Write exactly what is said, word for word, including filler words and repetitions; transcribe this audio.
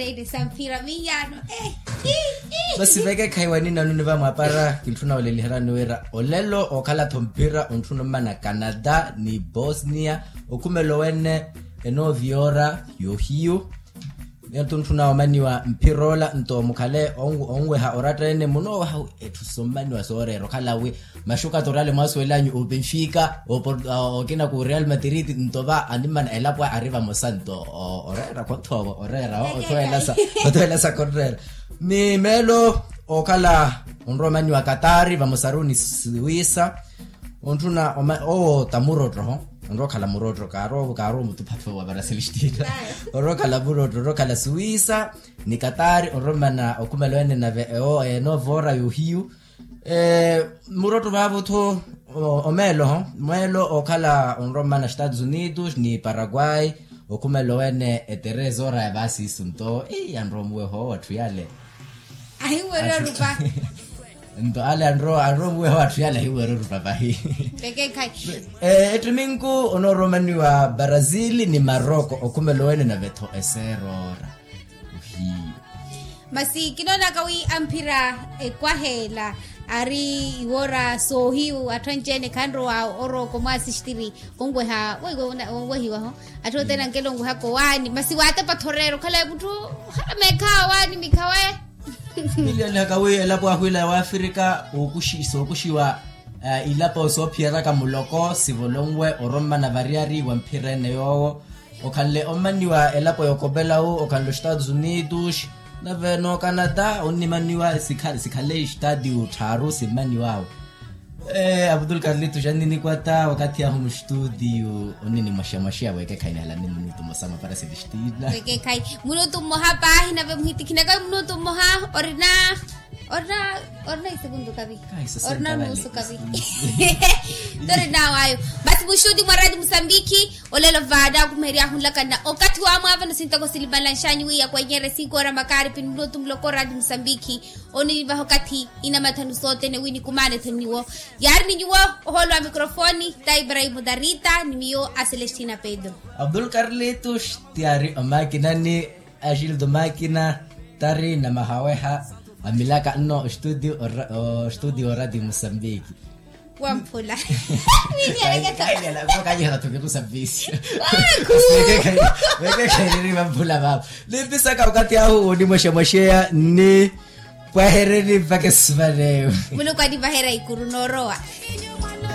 Tene sa mphira miyaano. Masi vekekhayi wanina nuni vamwapara kintthuna oleliherani wira olelo okhala-tho mphira ontthuna ommana canada ni bosnia. Okhumelo wene enoviora yohiyu. Niyotthuna omaniwa mphira ola nto mukhale onweha oratta ene munoowaha etthu sommaniwa sooreera okhala wi maxuka torale mwasuwelanyu o benfica okina ku real madrid nto va animmana elapo ari vamosa nto oreera khotthoovo oreera othowelasa othowelasa khotteera. Ni meelo okhala onrowa omaniwa katari vamosaru ni suwisa. Ontthuna owo tamurotto onrowa okhala murotto kaarowa mutuphatho wa varasilistiina. Onrowa okhala murotto onrowa okhala suwisa ni katari onrowa omana okhumelo ene nave ewo enoova ora yohiyu. Murotto vaavo-tho omeelo omeelo okhala onrowa omana estados unidos ni paraguay. Okhumelo ene etereza ora ya vaasiisu nto yanrowa omuweha owo atthu yale. Ahiwerya orupa. Nto ale anrowa anrowa omuweha wa atthu yale ahiwerya orupa vahi. Vekekhayi. Ettiminku onooromaniwa brazil ni maroko okhumelo wene nave-tho eseera ora. Masi kinoonaka wi amphira ekwaha ela ari iwora soohiyu atthu anci-ene khanrowa oroko mwaasistiri. Onweha weiwo onwehiwa-ho. Atthu othene ankela onwehaka owaani masi waatepa-tho oreera okhala mutthu ohala meekhawa owaani mikhawe. Niliyalihaka wi elapo ahwiila ya wafirika sookuxiwa ilapo soophiyeraka muloko sivolonwe orommana variyari wa mphira ene yoowo. Okhanle ommaniwa elapo ya okopelawu okhanle ostados unidos nave nookanata onnimaniwa sikhale estadio tthaaru simmaniwawe. Abdul karlito xanninikwata wakathi ahu mustudio onini mwaxamwaxeya weekekhayi nihalani minutu mmosa mwa parasilistiina. Weekekhayi minutu mmoha paahi nave muhitikhinaka minutu mmoha. Orina orina orina isekuntu kavi orina nusu kavi. Torina wayo. Masi mustudio mwa radio musambiki olelo vaana akhumeheryahu nlakanna okathi wamwaavana sintoko silimalanxanyi wi yakwenyerye sinkora makaaripi ni minutu muloko radio musambiki. Onivaha okathi inamathanu sothene wi nikumaane-tho ni nyuwo. Yaari ni nyuwo ohoolo wa mikrofoni ta ibrahimo darita ni miyo a celestina pedro. Abdul karlitos ti yaari omakinani axildo makina tari na mahaweha amilaka nno ostudio orati musambiki. Wamphula. Kanyela tukiku savisyo. Wekekhairiri vamphula vavo. Nimpisaka wakati ahu unimwexemwexeya nni pwahereni mpaka esivaleyo. Muluku anivaherya ikuru noorowa.